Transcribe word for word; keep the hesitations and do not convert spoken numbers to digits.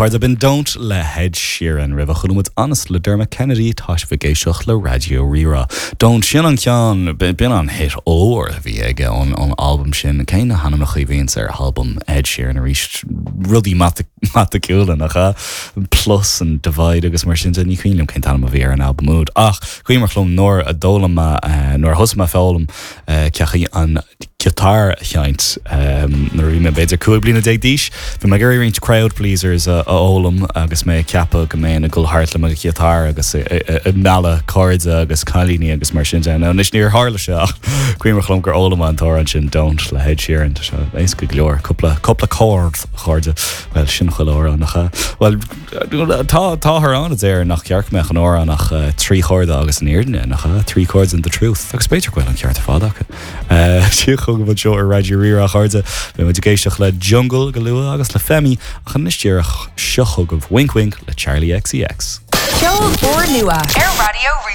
chairde b'in Don't le Ed Sheeran roimhe chuala muid Honest le Dermot Kennedy tá sibh ag éisteacht le Raidió Rí-Rá. Don't sin an ceann b'in an hit ór a bhí aige ón ón album sin cé na hainmneacha a bhíonn ar album Ed Sheeran arís rudaí matamaiticiúla nach ea plus and divide agus mar sin ní cuimhin liom cén t-ainm a bhí ar an album úd ach cuimhin liom nuair a d'fhoghlaim mé nuair a thosaigh mé foghlaim ceachaí an giotár a sheinnt nuair bhí mé b'fhéidir cúig bliana déag d'aois, Bhí mé ag roinnt crowd pleasers a fhoghlaim agus mé ceapadh go mbeinn ag dul thart le mo ghiotár agus ag mealladh cairde agus cailíní agus mar sin de. Anois níor tharla sé ach cuimhin liom gur fhoghlaim an t-amhrán sin Don't le Ed Sheeran tá sé éasca go leor cúpla cúpla chord chairde well sin chuile amhrán nach ea. Well tá táthar ann a deir nach ceart mbeadh in amhrán ach uh, trí chorda agus an fhírinne nach ea three chords and the truth agus b'fhéidir go bhfuil an ceart ar fad acu. Sí chugaibh anseo ar Raidió Rí-Rá chairde Beidh muid ag éisteacht le Jungle go luath agus le Femi ach anois díreach seo chugaibh Wink Wink le Charli XCX. Ceol úrnua ar Raidió